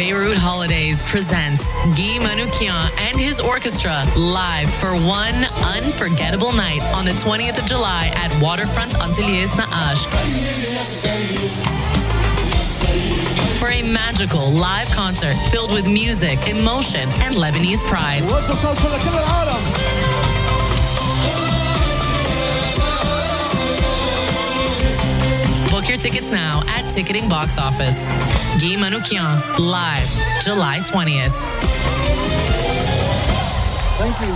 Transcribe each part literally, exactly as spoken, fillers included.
Beirut Holidays presents Guy Manoukian and his orchestra live for one unforgettable night on the twentieth of July at Waterfront Antilles Naash. For a magical live concert filled with music, emotion, and Lebanese pride. Book your tickets now at Ticketing Box Office. Guy Manoukian, live, July twentieth. Thank you.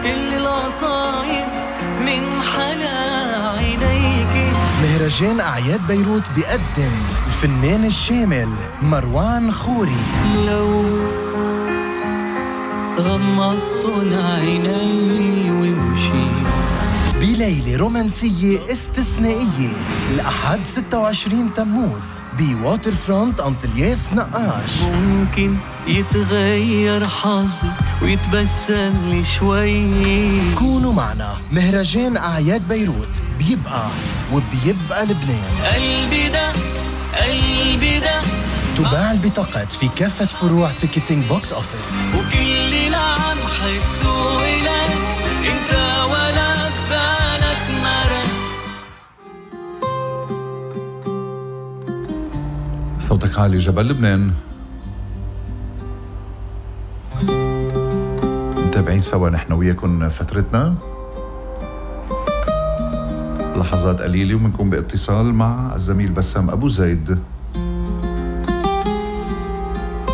كل القصايد من حلا عينيك. مهرجان أعياد بيروت بيقدم الفنان الشامل مروان خوري. لو غمضت عيني وامشي بليلة رومانسية استثنائية الأحد ستة وعشرين تموز بواتر فرونت أنطلياس نقاش. ممكن يتغير حظي ويتبسم لي شوي. كونوا معنا، مهرجان أعياد بيروت بيبقى وبيبقى لبنان. قلبي ده قلبي ده تباع البطاقات في كافة فروع تيكتينج بوكس أوفيس. وكل اللي عم حسه إلك انت ولا بالك مرة. صوتك عالي جبل لبنان. متابعين سوا نحن وياكم فترتنا لحظات قليلة ومنكم باتصال مع الزميل بسام أبو زيد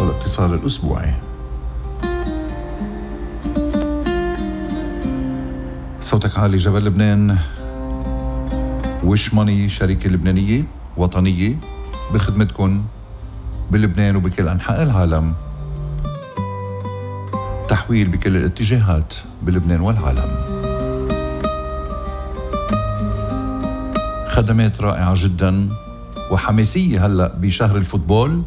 والاتصال الأسبوعي. صوتك عالي جبل لبنان. وش ماني شركة لبنانية وطنية بخدمتكم بلبنان وبكل أنحاء العالم. تحويل بكل الاتجاهات بلبنان والعالم. خدمات رائعة جدا وحماسية هلأ بشهر الفوتبول.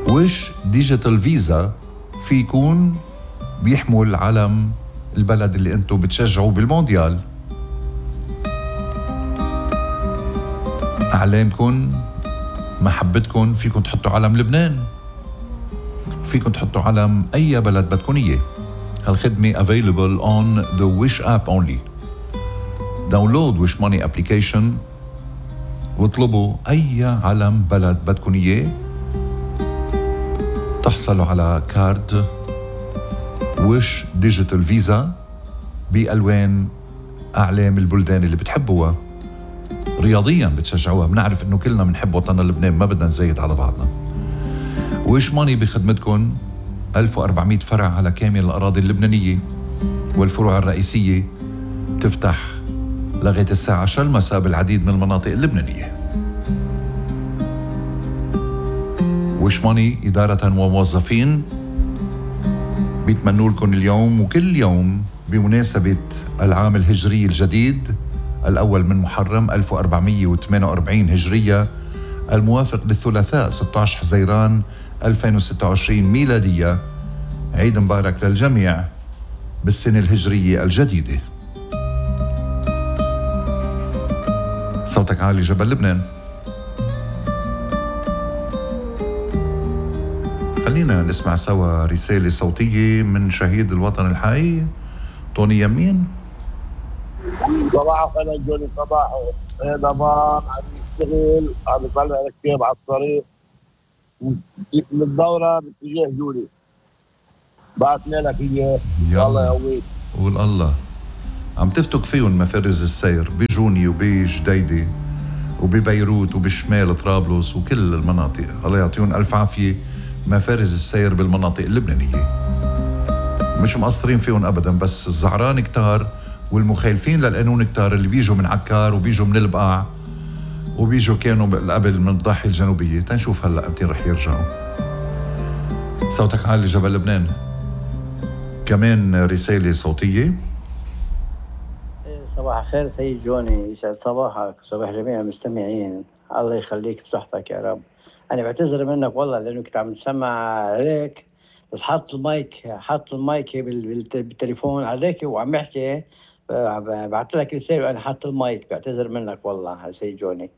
وش ديجيتال فيزا في يكون بيحمل علم البلد اللي انتو بتشجعوا بالمونديال. أعلامكن محبتكن فيكن تحطوا علم لبنان، فيكن تحطوا علم أي بلد بدكن إياه. هالخدمة available on the Wish app only. داونلود ويش ماني ابليكيشن واطلبوا أي علم بلد بدكن إياه. تحصلوا على كارد وش ديجيتال فيزا بألوان أعلام البلدان اللي بتحبوها. رياضيا بتشجعوها. بنعرف إنه كلنا بنحب وطننا لبنان، ما بدنا نزايد على بعضنا. وش ماني بخدمتكم ألف وأربعمية فرع على كامل الأراضي اللبنانية، والفروع الرئيسية تفتح لغاية الساعة عشرة المساء بالعديد من المناطق اللبنانية. وش ماني إدارة وموظفين بيتمنوا لكم اليوم وكل يوم بمناسبة العام الهجري الجديد الأول من محرم ألف وأربعمية وثمانية وأربعين هجرية الموافق للثلاثاء ستة عشر حزيران ألفين وستة وعشرين ميلادية. عيد مبارك للجميع بالسنة الهجرية الجديدة. صوتك عالي جبل لبنان. خلينا نسمع سوا رسالة صوتية من شهيد الوطن الحي طوني يمين. صباح الخير جوني. صباح ضمان عم يشتغل عم يطلع ركاب على الطريق من الدورة باتجاه جولي. بعتنا لك اياه. الله يقويك. قول الله. عم تفتك فيهم مفارز السير بجوني وبجديدة وببيروت وبشمال طرابلس وكل المناطق. الله يعطيهم ألف عافية مفارز السير بالمناطق اللبنانية. مش مقصرين فيهم أبدا، بس الزعران كتار والمخالفين للقانون كتار اللي بيجوا من عكار وبيجوا من البقاع وبيجوا كانوا قبل من الضاحية الجنوبية. تنشوف هلأ امتين رح يرجعوا. صوتك عالي جبل لبنان. كمان رسالة صوتية. صباح الخير سيد جوني، يسعد صباحك وصباح جميع المستمعين. الله يخليك بصحتك يا رب. أنا بعتذر منك والله لأنه كنت عم تسمع عليك، بس حط المايك حط المايك بالتليفون عليك وعم يحكي. بعت لك رسالة وأنا حط المايك. بعتذر منك والله يا سيد جوني.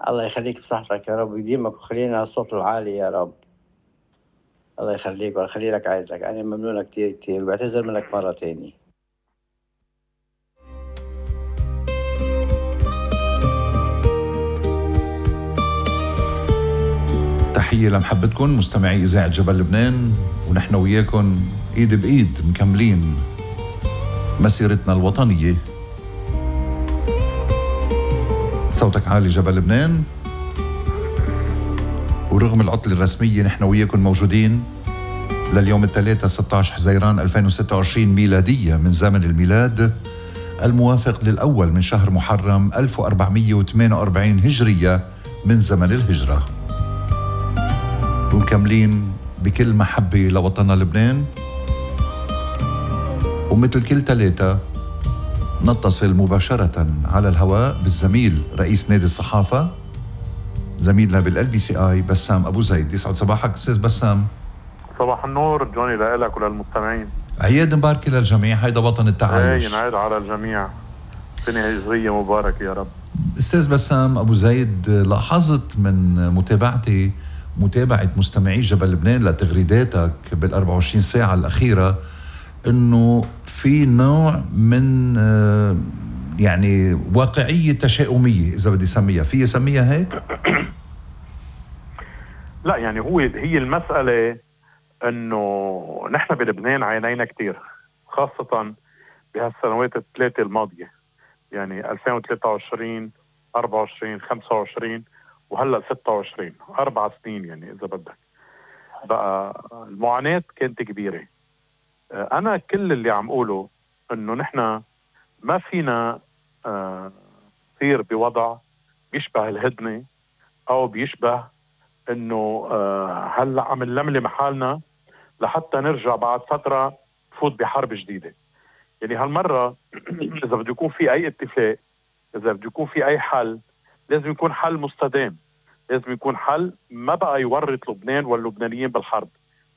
الله يخليك بصحتك يا رب ويديمك وخلينا على الصوت العالي يا رب. الله يخليك ويخلي لك عائلتك. أنا ممنونة كتير كتير وبعتذر منك مرة تاني. تحية لمحبتكم مستمعي إذاعة جبل لبنان، ونحن وياكم إيد بإيد مكملين مسيرتنا الوطنية. صوتك عالي جبل لبنان، ورغم العطلة الرسمية نحن وياكم موجودين لليوم الثلاثة ستة عشر حزيران ألفين وستة وعشرين ميلادية من زمن الميلاد، الموافق للأول من شهر محرم ألف وأربعمية وثمانية وأربعين هجرية من زمن الهجرة. ومكملين بكل محبة لوطننا لبنان، ومثل كل ثلاثة نتصل مباشرة على الهواء بالزميل رئيس نادي الصحافة زميلنا بالال بي سي اي بسام ابو زيد. يسعد صباحك استاذ بسام. صباح النور جوني لك وللمستمعين. عياد مباركة للجميع، هيدا وطن التعايش. اي ينعاد على الجميع، سنة هجرية مباركة يا رب. استاذ بسام ابو زيد، لاحظت من متابعتي متابعة مستمعي جبل لبنان لتغريداتك بالأربع وعشرين ساعة الأخيرة انه في نوع من يعني واقعية تشاؤمية اذا بدي اسميها، في اسميها هيك؟ لا يعني هو هي المسألة انه نحن بلبنان عانينا كتير، خاصة بهالسنوات الثلاثة الماضية، يعني ألفين وثلاثة وعشرين أربعة وعشرين خمسة وعشرين وهلا ستة وعشرين، أربع سنين يعني إذا بدك. بقى المعاناة كانت كبيرة. أنا كل اللي عم قوله إنه نحن ما فينا نصير بوضع بيشبه الهدنة أو بيشبه إنه هلا عم نلملم حالنا لحتى نرجع بعد فترة نفوت بحرب جديدة. يعني هالمرة إذا بده يكون في أي اتفاق، إذا بده يكون في أي حل، لازم يكون حل مستدام، لازم يكون حل ما بقى يورط لبنان واللبنانيين بالحرب.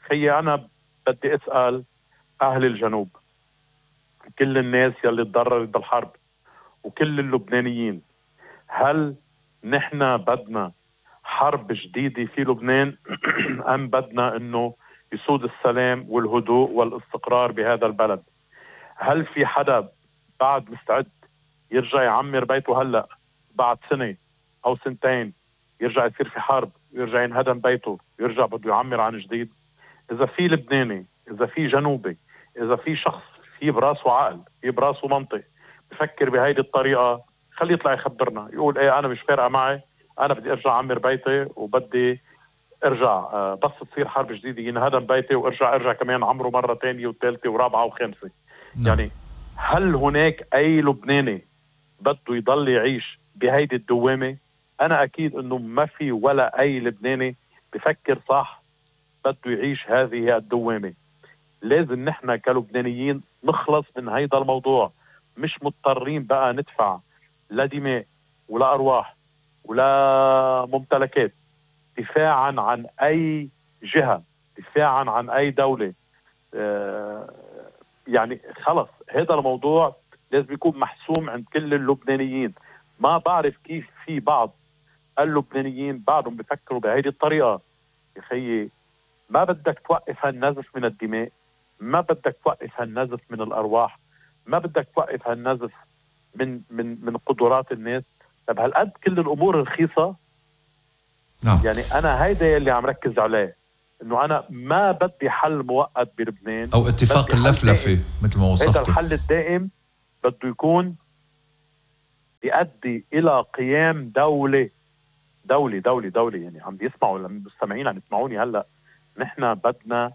خيي أنا بدي أسأل أهل الجنوب، كل الناس يلي تضررت بالحرب وكل اللبنانيين، هل نحن بدنا حرب جديدة في لبنان أم بدنا أنه يسود السلام والهدوء والاستقرار بهذا البلد؟ هل في حدا بعد مستعد يرجع يعمر بيته هلأ بعد سنة أو سنتين يرجع يصير في حرب ويرجع ينهدم بيته ويرجع بده يعمر عن جديد؟ إذا في لبناني، إذا في جنوبي، إذا في شخص في براسه عقل، في براسه منطق بفكر بهيدي الطريقة، خليه يطلع يخبرنا يقول ايه أنا مش فارقة معي، أنا بدي أرجع أعمر بيتي وبدي أرجع آه بس تصير حرب جديدة ينهدم بيتي وأرجع أرجع كمان عمره مرة تانية وثالثة ورابعة وخامسة. نعم. يعني هل هناك أي لبناني بده يضل يعيش بهيدي الدوامة؟ أنا أكيد أنه ما في ولا أي لبناني بفكر صح بده يعيش هذه الدوامة. لازم نحن كلبنانيين نخلص من هيدا الموضوع، مش مضطرين بقى ندفع لا دماء ولا أرواح ولا ممتلكات دفاعا عن أي جهة، دفاعا عن أي دولة. آه يعني خلص هذا الموضوع لازم يكون محسوم عند كل اللبنانيين. ما بعرف كيف في بعض اللبنانيين بعدهم بفكروا بهذه الطريقة. يا خيي ما بدك توقف هالنزف من الدماء، ما بدك توقف هالنزف من الأرواح، ما بدك توقف هالنزف من من من قدرات الناس. طب هالقد كل الأمور رخيصة؟ نعم. يعني أنا هيدا اللي عم ركز عليه، إنه أنا ما بدي حل مؤقت بلبنان أو اتفاق اللفلفة مثل ما وصفته. هذا الحل الدائم بده يكون يؤدي إلى قيام دولة دولة دولة دولة يعني عم بيسمعوا المستمعين عم يسمعوني هلأ. نحن بدنا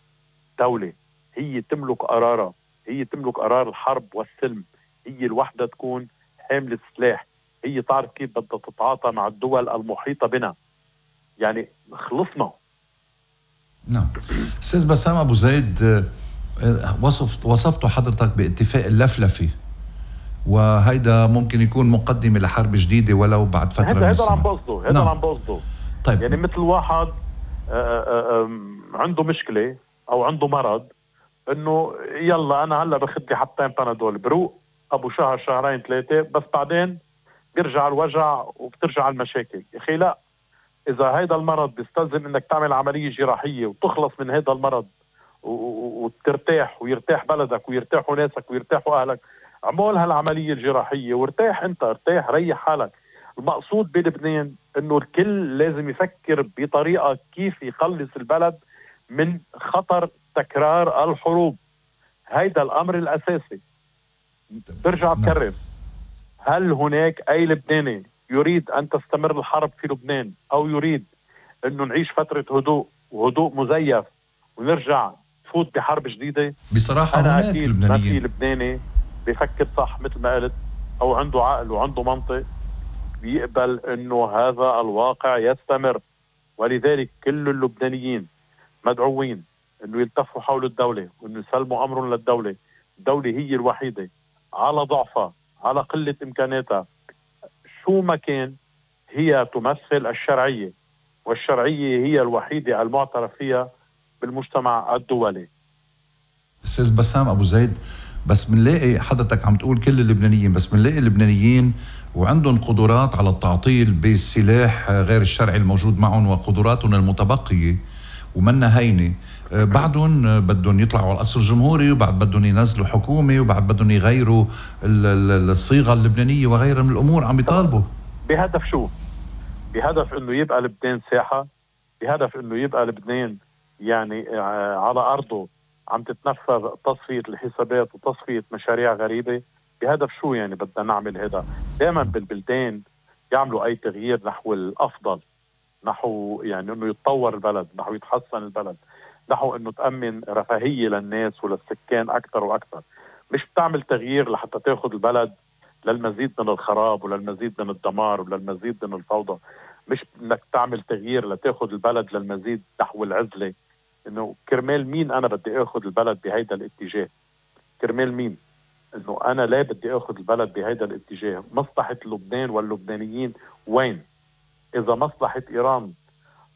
دولة هي تملك قرارها، هي تملك قرار الحرب والسلم، هي الوحدة تكون حاملة السلاح، هي تعرف كيف بدها تتعاطى مع الدول المحيطة بنا. يعني خلصنا. نعم. أستاذ بسام أبو زيد، وصفت وصفته حضرتك باتفاق اللفلفة، وهيدا ممكن يكون مقدمة لحرب جديدة ولو بعد فترة من الزمن. هذا عم بقصده، هذا نعم. عم بقصده. طيب. يعني مثل واحد عنده مشكلة أو عنده مرض، إنه يلا أنا هلا باخد لي حبتين بانادول بروق أبو شهر شهرين ثلاثة، بس بعدين بيرجع الوجع وبترجع المشاكل. يا أخي لا، إذا هيدا المرض بيستلزم إنك تعمل عملية جراحية وتخلص من هيدا المرض وترتاح ويرتاح بلدك ويرتاحوا ناسك ويرتاحوا أهلك، عمول هالعملية الجراحية وارتاح أنت، ارتاح ريح حالك. المقصود بلبنان إنه الكل لازم يفكر بطريقة كيف يخلص البلد من خطر تكرار الحروب. هيدا الأمر الأساسي. برجع بكرر، هل هناك أي لبناني يريد أن تستمر الحرب في لبنان أو يريد أنه نعيش فترة هدوء وهدوء مزيف ونرجع نفوت بحرب جديدة؟ بصراحة أنا هناك أكيد ما في لبنانيين لبناني بيفكر صح مثل ما قلت أو عنده عقل وعنده منطق بيقبل أنه هذا الواقع يستمر. ولذلك كل اللبنانيين مدعوين أنه يلتفوا حول الدولة وأنه يسلموا أمرهم للدولة. الدولة هي الوحيدة على ضعفها، على قلة إمكاناتها، شو ما كان هي تمثل الشرعية، والشرعية هي الوحيدة المعترف فيها بالمجتمع الدولي. أستاذ بسام أبو زيد، بس بنلاقي حضرتك عم تقول كل اللبنانيين، بس بنلاقي اللبنانيين وعندهم قدرات على التعطيل بالسلاح غير الشرعي الموجود معهم وقدراتهم المتبقية ومنا هينة، بعدهم بدهم يطلعوا على القصر الجمهوري وبعد بدهم ينزلوا حكومة وبعد بدهم يغيروا الصيغة اللبنانية وغيرها من الأمور عم بيطالبوا بهدف شو؟ بهدف انه يبقى لبنان ساحة، بهدف انه يبقى لبنان يعني على أرضه عم تتنفذ تصفية الحسابات وتصفية مشاريع غريبة. بهدف شو يعني بدنا نعمل هذا؟ دائما بالبلدان يعملوا أي تغيير نحو الأفضل، نحو يعني انه يتطور البلد، نحو يتحسن البلد، نحو انه تأمن رفاهية للناس وللسكان اكثر واكثر. مش بتعمل تغيير لحتى تاخذ البلد للمزيد من الخراب وللمزيد من الدمار وللمزيد من الفوضى. مش انك تعمل تغيير لتاخذ البلد للمزيد نحو العزلة. انه كرمال مين انا بدي اخذ البلد بهيدا الاتجاه؟ كرمال مين؟ انه انا لا بدي اخذ البلد بهيدا الاتجاه. مصلحة لبنان واللبنانيين وين؟ إذا مصلحة إيران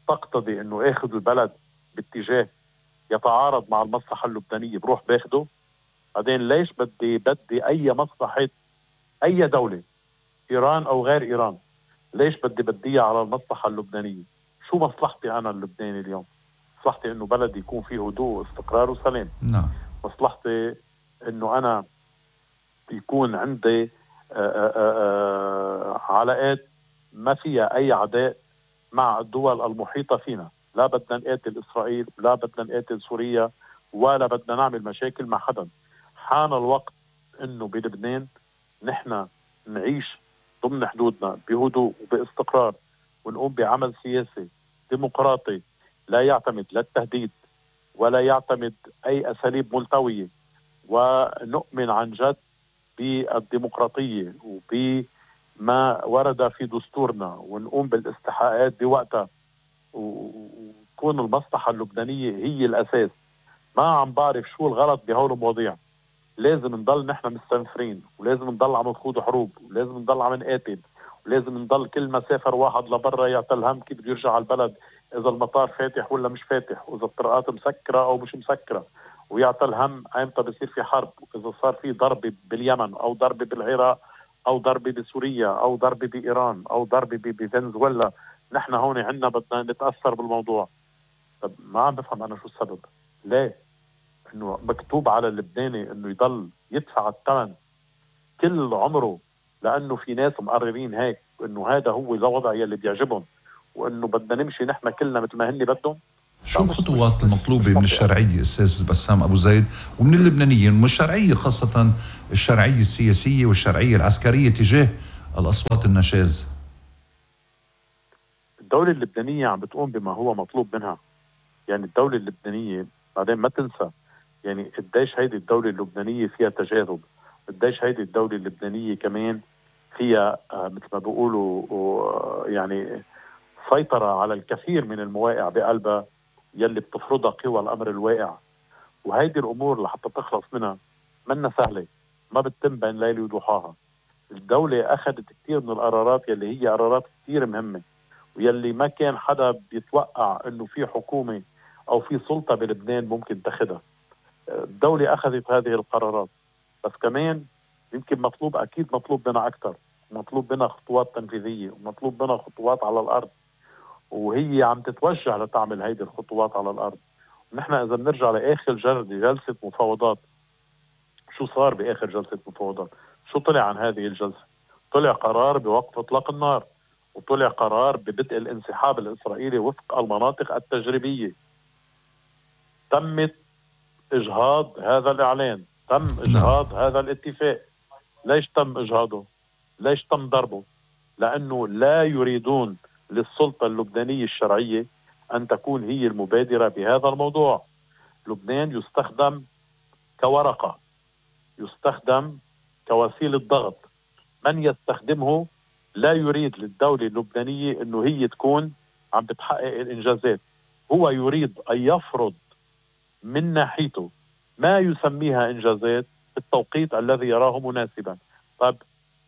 تقتضي أنه أخذ البلد باتجاه يتعارض مع المصلحة اللبنانية بروح باخده. بعدين ليش بدي بدي أي مصلحة أي دولة، إيران أو غير إيران، ليش بدي بديها على المصلحة اللبنانية؟ شو مصلحتي أنا اللبناني اليوم؟ مصلحتي أنه بلدي يكون فيه هدوء واستقرار وسلام. نعم. مصلحتي أنه أنا يكون عندي آآ آآ علاقات ما فيها أي عداء مع الدول المحيطة فينا. لا بدنا نقاتل إسرائيل، لا بدنا نقاتل سوريا، ولا بدنا نعمل مشاكل مع حدا. حان الوقت إنه بلبنان نحن نعيش ضمن حدودنا بهدوء وباستقرار، ونقوم بعمل سياسي ديمقراطي لا يعتمد لا التهديد ولا يعتمد أي أساليب ملتوية، ونؤمن عن جد بالديمقراطية وبما ورد في دستورنا، ونقوم بالاستحقاقات بوقتها، وتكون المصلحة اللبنانية هي الأساس. ما عم بعرف شو الغلط بهول المواضيع. لازم نضل نحن مستنفرين، ولازم نضل عم نخوض حروب، ولازم نضل عم نقاتل، ولازم نضل كل ما سافر واحد لبرا يعطل هم كيف بده يرجع على البلد، إذا المطار فاتح ولا مش فاتح، وإذا الطرقات مسكرة أو مش مسكرة، ويعطل هم أيمتى بصير في حرب، إذا صار في ضربة باليمن أو ضربة بالعراق أو ضربة بسوريا أو ضربة بإيران أو ضربة بفنزويلا. نحن هون عنا بدنا نتأثر بالموضوع. طب ما عم بفهم أنا شو السبب. ليه؟ إنه مكتوب على اللبناني إنه يضل يدفع الثمن كل عمره لأنه في ناس مقررين هيك، إنه هذا هو الوضع يلي بيعجبهم، وإنه بدنا نمشي نحن كلنا مثل ما هن بدهم. شو الخطوات المطلوبة من الشرعية أستاذ بسام أبو زيد ومن اللبنانيين، ومن الشرعية خاصة الشرعية السياسية والشرعية العسكرية تجاه الأصوات النشاز؟ الدولة اللبنانية عم بتقوم بما هو مطلوب منها. يعني الدولة اللبنانية بعدين ما تنسى يعني قديش هيدي الدولة اللبنانية فيها تجاذب، قديش هيدي الدولة اللبنانية كمان فيها آه مثل ما بيقولوا آه يعني سيطرة على الكثير من المواقع بقلبها يلي بتفرضها قوى الأمر الواقع. وهيدي الأمور لحتى تخلص منها منا سهلة، ما بتتم بين ليلة وضحاها. الدولة أخذت كثير من القرارات يلي هي قرارات كثير مهمة، ويلي ما كان حدا بيتوقع إنه في حكومة أو في سلطة بلبنان ممكن تاخدها. الدولة أخذت هذه القرارات، بس كمان يمكن مطلوب، أكيد مطلوب منا أكثر، ومطلوب منها خطوات تنفيذية ومطلوب منها خطوات على الأرض، وهي عم تتوجه لتعمل هيدي الخطوات على الأرض. ونحن إذا بنرجع لآخر جلسة مفاوضات، شو صار بآخر جلسة مفاوضات؟ شو طلع عن هذه الجلسة؟ طلع قرار بوقف إطلاق النار، وطلع قرار ببدء الانسحاب الإسرائيلي وفق المناطق التجريبية. تمت إجهاض هذا الإعلان، تم إجهاض هذا الاتفاق. ليش تم إجهاضه؟ ليش تم ضربه؟ لأنه لا يريدون للسلطة اللبنانية الشرعية أن تكون هي المبادرة بهذا الموضوع. لبنان يستخدم كورقة، يستخدم كوسيلة ضغط. من يستخدمه لا يريد للدولة اللبنانية أنه هي تكون عم بتحقق الإنجازات، هو يريد أن يفرض من ناحيته ما يسميها إنجازات بالتوقيت الذي يراه مناسبا. طيب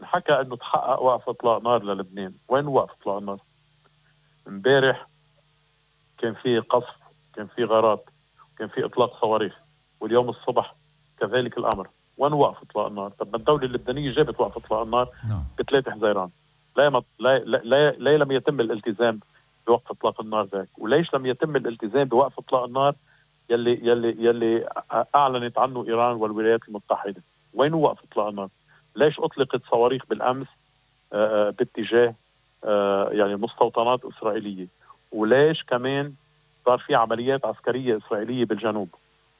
نحكى أنه تحقق وقف إطلاق نار للبنان، وين وقف إطلاق النار؟ امبارح كان في قصف، كان في غارات، كان في إطلاق صواريخ، واليوم الصبح كذلك الأمر. وين وقف إطلاق النار؟ طب ما الدولة اللبنانية جابت وقف إطلاق النار بثلاثة حزيران. لا, مط... لا, لا, لا, لا لم يتم الالتزام بوقف إطلاق النار ذاك، وليش لم يتم الالتزام بوقف إطلاق النار يلي يلي يلي أعلنت عنه إيران والولايات المتحدة؟ وين وقف إطلاق النار؟ ليش أطلقت صواريخ بالأمس آآ باتجاه يعني مستوطنات إسرائيلية؟ وليش كمان صار في عمليات عسكرية إسرائيلية بالجنوب؟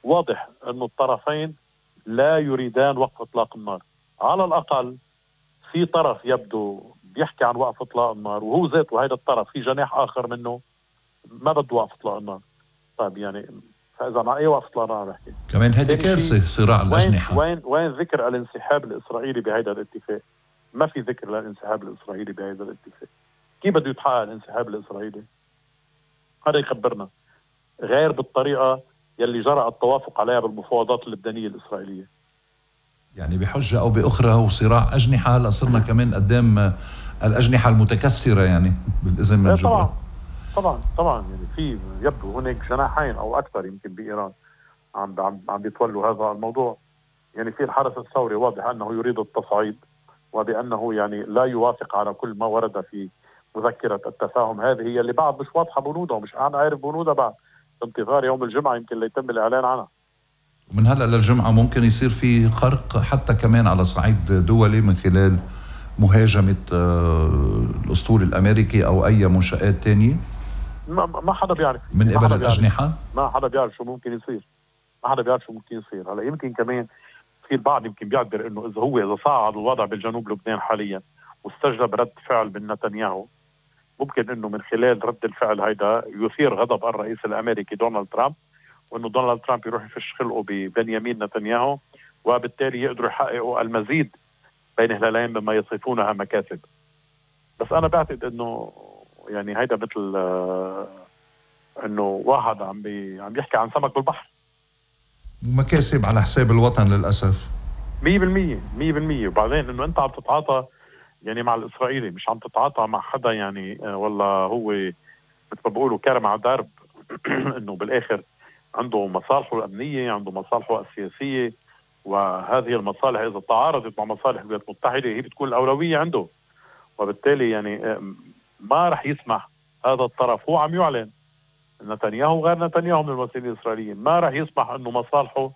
واضح أنه الطرفين لا يريدان وقف إطلاق النار. على الأقل في طرف يبدو بيحكي عن وقف إطلاق النار، وهو ذاته هذا الطرف في جناح آخر منه ما بده وقف إطلاق النار. طيب يعني فإذا مع أي وقف إطلاق النار بحكي؟ كمان هذه كارثة صراع الأجنحة. وين وين ذكر الانسحاب الإسرائيلي بهذا الاتفاق؟ ما في ذكر للانسحاب الإسرائيلي بهذا الاتفاق. كيف بده يتحقق الانسحاب الإسرائيلي؟ هذا يخبرنا غير بالطريقة يلي جرى التوافق عليها بالمفاوضات اللبنانية الإسرائيلية. يعني بحجة أو بأخرى هو صراع أجنحة. هلا صرنا كمان قدام الأجنحة المتكسرة يعني بالإذن من جبران. طبعا طبعا طبعا يعني في يبدو هناك جناحين أو أكثر يمكن بإيران عم عم عم بيتولوا هذا الموضوع. يعني في الحرس الثوري واضح أنه يريد التصعيد، وبأنه يعني لا يوافق على كل ما ورد في مذكرة التفاهم هذه هي اللي بعد مش واضحة بنودها، ومش أنا عارف بنودها بعد. انتظار يوم الجمعة يمكن ليتم الإعلان عنها. ومن هلأ للجمعة ممكن يصير في خرق حتى كمان على صعيد دولي من خلال مهاجمة الأسطول الأمريكي أو أي منشآت تانية. ما, ما حدا بيعرف من قبل الأجنحة. ما حدا بيعرف شو ممكن يصير. ما حدا بيعرف شو ممكن يصير. هلا يمكن كمان في البعض يمكن بيعبر إنه إذا هو إذا صعد الوضع بالجنوب لبنان حاليا واستجلب رد فعل من نتنياهو، ممكن إنه من خلال رد الفعل هيدا يثير غضب الرئيس الأمريكي دونالد ترامب، وإنه دونالد ترامب يروح يفش خلقه ببنيامين نتنياهو، وبالتالي يقدروا يحققوا المزيد بين هلالين مما يصفونها مكاسب. بس أنا بعتقد إنه يعني هيدا مثل آه إنه واحد عم بي عم يحكي عن سمك بالبحر. مكاسب على حساب الوطن للأسف. مية بالمية مية بالمية. وبعدين إنه أنت عم تتعاطى يعني مع الإسرائيلي، مش عم تتعاطى مع حدا يعني آه والله هو مثل ما بقولوا كرم على درب إنه بالآخر عنده مصالحه الأمنية، عنده مصالحه السياسية، وهذه المصالح إذا تعارضت مع مصالح الولايات المتحدة هي بتكون الأولوية عنده. وبالتالي يعني ما رح يسمح هذا الطرف، هو عم يعلن نتنياهو غير نتنياهو من المسؤولين الإسرائيليين، ما رح يسمح أنه مصالحه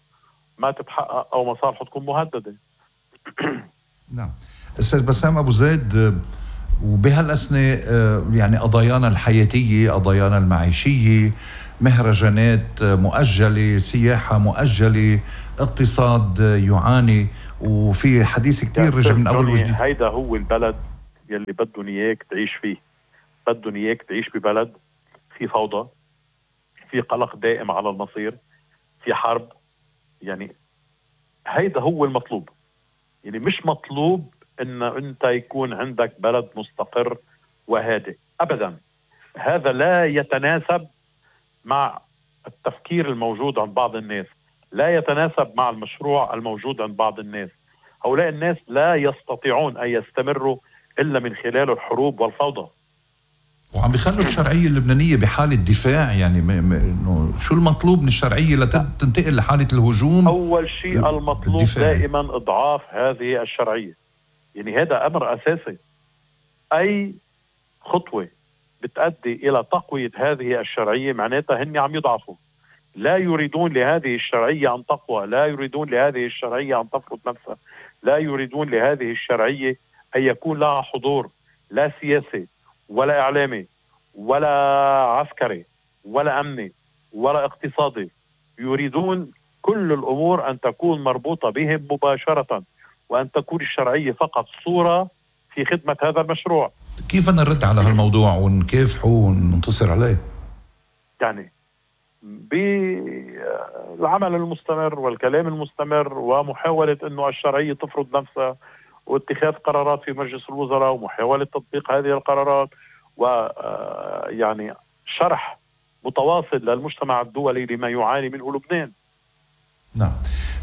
ما تتحقق أو مصالحه تكون مهددة. نعم. أستاذ بسام أبو زيد، وبهالأسنة يعني قضايانا الحياتية، قضايانا المعيشية، مهرجانات مؤجلة، سياحة مؤجلة، اقتصاد يعاني، وفي حديث كتير رجع من أول وجديد. هيدا هو البلد يلي بدهم إياك تعيش فيه. بدهم إياك تعيش ببلد في فوضى، في قلق دائم على المصير، في حرب. يعني هيدا هو المطلوب. يعني مش مطلوب إن أنت يكون عندك بلد مستقر وهادئ أبدا. هذا لا يتناسب مع التفكير الموجود عند بعض الناس، لا يتناسب مع المشروع الموجود عند بعض الناس. هؤلاء الناس لا يستطيعون أن يستمروا إلا من خلال الحروب والفوضى. وعم بيخلوا الشرعية اللبنانية بحالة دفاع. يعني م- م- شو المطلوب من الشرعية لتنتقل لحالة الهجوم؟ أول شيء المطلوب الدفاعي. دائما إضعاف هذه الشرعية. يعني هذا أمر أساسي. أي خطوة بتؤدي إلى تقوية هذه الشرعية معناتها هن عم يضعفوا. لا يريدون لهذه الشرعية أن تقوى، لا يريدون لهذه الشرعية أن تفرض نفسها، لا يريدون لهذه الشرعية أن يكون لها حضور لا سياسي ولا إعلامي ولا عسكري ولا أمني ولا اقتصادي. يريدون كل الأمور أن تكون مربوطة بهم مباشرة، وأن تكون الشرعية فقط صورة في خدمة هذا المشروع. كيف أنا نرد على هالموضوع ونكافحه وننتصر عليه؟ يعني بالعمل المستمر والكلام المستمر ومحاولة أنه الشرعية تفرض نفسها واتخاذ قرارات في مجلس الوزراء ومحاولة تطبيق هذه القرارات ويعني شرح متواصل للمجتمع الدولي لما يعاني منه لبنان. نعم.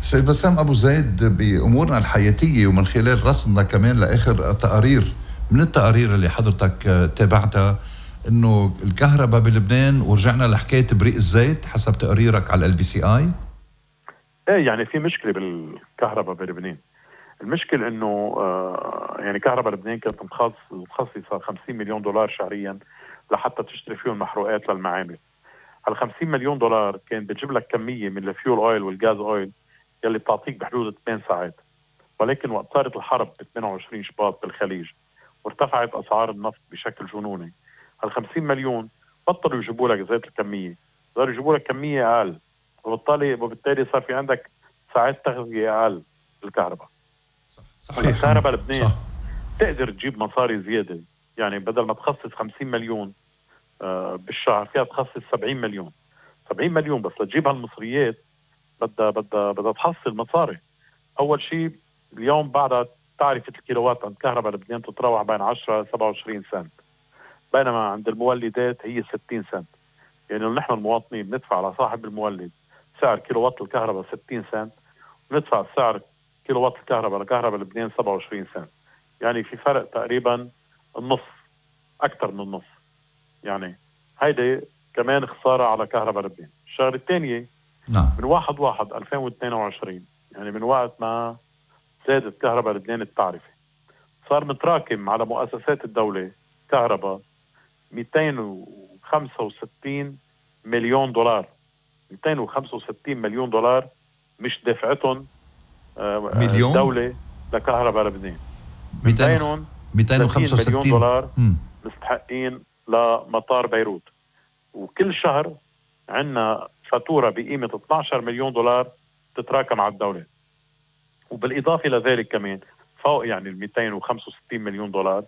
سيد بسام أبو زيد، بأمورنا الحياتية ومن خلال رصدنا كمان لآخر تقارير من التقارير اللي حضرتك تابعتها إنه الكهرباء بلبنان، ورجعنا لحكاية بريق الزيت حسب تقريرك على ال بي سي آي. ايه يعني في مشكلة بالكهرباء بلبنان. المشكلة إنه آه يعني كهرباء لبنان كانت مخصصة خمسين مليون دولار شهريا لحتى تشتري فيهم محروقات للمعامل. هال خمسين مليون دولار كان بتجيب لك كمية من الفيول اويل والغاز اويل يلي بتعطيك بحدود ثمان ساعات، ولكن وقت صارت الحرب ب ثمانية وعشرين شباط بالخليج وارتفعت أسعار النفط بشكل جنوني، هال خمسين مليون بطلوا يجيبوا لك زيت الكمية، صاروا يجيبوا لك كمية أقل، وبالتالي وبالتالي صار في عندك ساعات تغذية أقل بالكهرباء. صحيح. الكهرباء لبنان تقدر تجيب مصاري زيادة، يعني بدل ما تخصص خمسين مليون آه بالشهر فيها تخصص سبعين مليون. سبعين مليون بس لتجيب هالمصريات بدها بدها بدها تحصل مصاري. أول شيء اليوم بعد تعرفة الكيلووات عند كهرباء لبنان تتراوح بين عشرة سبعة وعشرين سنت، بينما عند المولدات هي ستين سنت. يعني نحن المواطنين بندفع على صاحب المولد سعر كيلووات الكهرباء ستين سنت، وندفع سعر كيلووات الكهرباء لكهرباء لبنان سبعة وعشرين سنت. يعني في فرق تقريبا النص، أكثر من النص. يعني هيدي كمان خسارة على كهرباء لبنان. الشغلة الثانية نعم. من واحد واحد ألفين واثنين وعشرين، يعني من وقت ما زادت كهرباء لبنان التعرفة، صار متراكم على مؤسسات الدولة كهرباء مئتين وخمسة وستين مليون دولار. مئتين وخمسة وستين مليون دولار مش دفعتهم مليون؟ الدولة لكهرباء لبنان. مئتين وخمسة وستين مليون دولار م. مستحقين لمطار بيروت، وكل شهر عنا فاتورة بقيمة اثني عشر مليون دولار تتراكم على الدولة. وبالإضافة لذلك كمان فوق يعني ال مئتين وخمسة وستين مليون دولار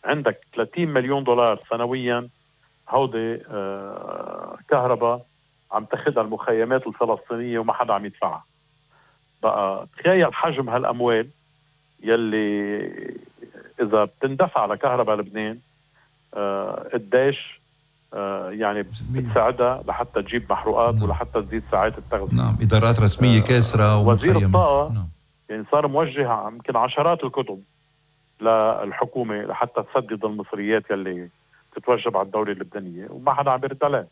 عندك ثلاثين مليون دولار سنويا هودي آه كهرباء عم تاخدها المخيمات الفلسطينية وما حدا عم يدفعها. بقى تخيل حجم هالأموال يلي إذا بتندفع لكهرباء لبنان آه قديش آه يعني بتساعدها لحتى تجيب محروقات. نعم. ولحتى تزيد ساعات التغذية. نعم. إدارات رسمية آه كاسرة وزير الطاقة. نعم. يعني صار موجه يمكن عشرات الكتب للحكومة لحتى تسدد المصريات يلي تتوجب على الدولة اللبنانية وما حدا عم بيرد عليه.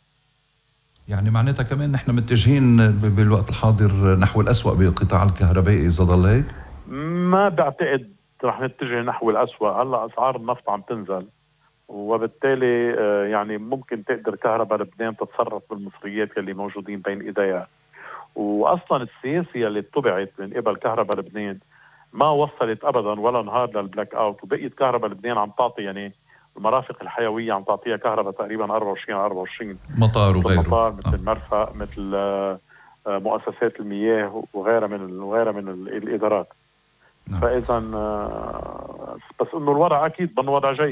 يعني معناتها كمان نحن متجهين بالوقت الحاضر نحو الأسوأ بالقطاع الكهربائي إذا ضل هيك؟ ما بعتقد رح نتجه نحو الأسوأ. هلا أسعار النفط عم تنزل، وبالتالي يعني ممكن تقدر كهرباء لبنان تتصرف بالمصريات يلي موجودين بين إيديها. وأصلا السياسة اللي اتبعت من قبل كهرباء لبنان ما وصلت أبدا ولا نهار للبلاك أوت، وبقيت كهرباء لبنان عم تعطي يعني المرافق الحيوية عم تعطيها كهرباء تقريبا أربعة وعشرين أربعة وعشرين مطار وغيره، مطار مثل المرفأ مثل مؤسسات المياه وغيرها من وغيرها من الإدارات. نعم. فإذا بس إنه الوضع أكيد بأنه وضع جيد.